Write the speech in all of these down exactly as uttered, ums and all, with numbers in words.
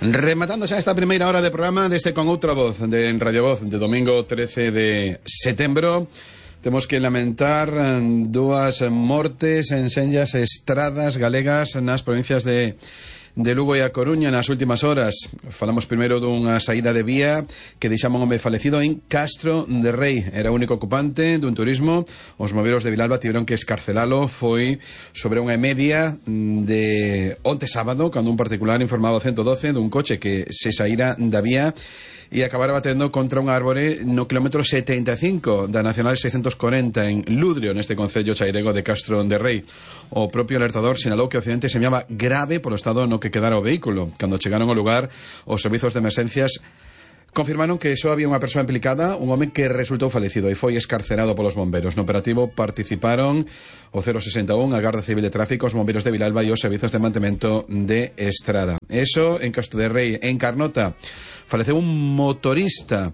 Rematando xa esta primeira hora de programa deste Con Outra Voz de en Radio Voz de domingo trece de setembro. Temos que lamentar dúas mortes en senllas estradas galegas nas provincias de de Lugo e A Coruña nas últimas horas. Falamos primeiro dunha saída de vía que deixamos un home falecido en Castro de Rei. Era o único ocupante dun turismo. Os moveros de Vilalba tiveron que escarcelalo. Foi sobre unha media de onte sábado, cando un particular informaba ao ciento doce dun coche que se saíra da vía e acabara batendo contra un árbore no kilómetro setenta e cinco da Nacional seiscentos corenta en Ludrio, neste concello chairego de Castro de Rei. O propio alertador sinalou que o accidente se chamaba grave polo estado no que quedara o vehículo. Cando chegaron ao lugar, os servizos de emerxencias confirmaron que só había unha persoa implicada, un home que resultou falecido e foi escarcerado polos bomberos. No operativo participaron o cero sesenta e un, a Garda Civil de Tráfico, os bombeiros de Vilalba e os servizos de mantemento de Estrada. Eso en Castro de Rei. En Carnota faleceu un motorista.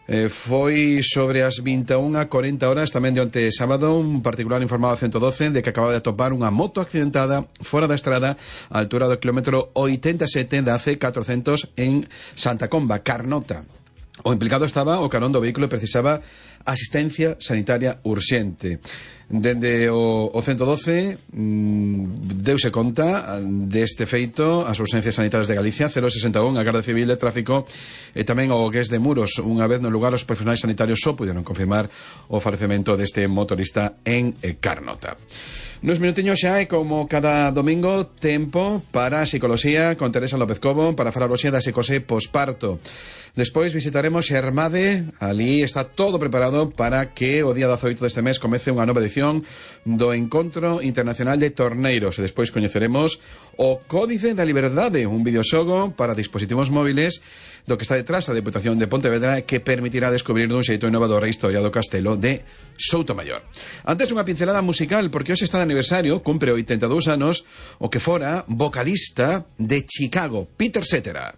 Eh, foi sobre as vinte e unha e corenta horas tamén de onte sábado. Un particular informado a ciento doce de que acababa de atopar unha moto accidentada fora da estrada á altura do kilómetro oitenta e sete da C catrocentos en Santa Comba, Carnota. O implicado estaba ao carón do vehículo e precisaba asistencia sanitaria urxente. Dende o, o ciento doce mmm, deuse conta deste feito as urxencias sanitarias de Galicia, cero sesenta e un, a Garda Civil de Tráfico e tamén o Gués de Muros. Unha vez no lugar, os profesionais sanitarios só puderon confirmar o falecemento deste motorista en Carnota. Nos minutiños xa é como cada domingo tempo para a psicoloxía con Teresa López Cobo para falar hoxe da psicose posparto. Despois visitaremos Xermade, ali está todo preparado para que o día dezaoito deste mes comece unha nova edición do Encontro Internacional de Torneiros e despois coñeceremos o Códice da Liberdade, un videoxogo para dispositivos móviles do que está detrás a Deputación de Pontevedra que permitirá descubrir dun xeito innovador a historia do castelo de Soutomaior. Antes unha pincelada musical, porque hoxe está de aniversario, cumpre oitenta e dous anos, o que fora vocalista de Chicago, Peter Cetera.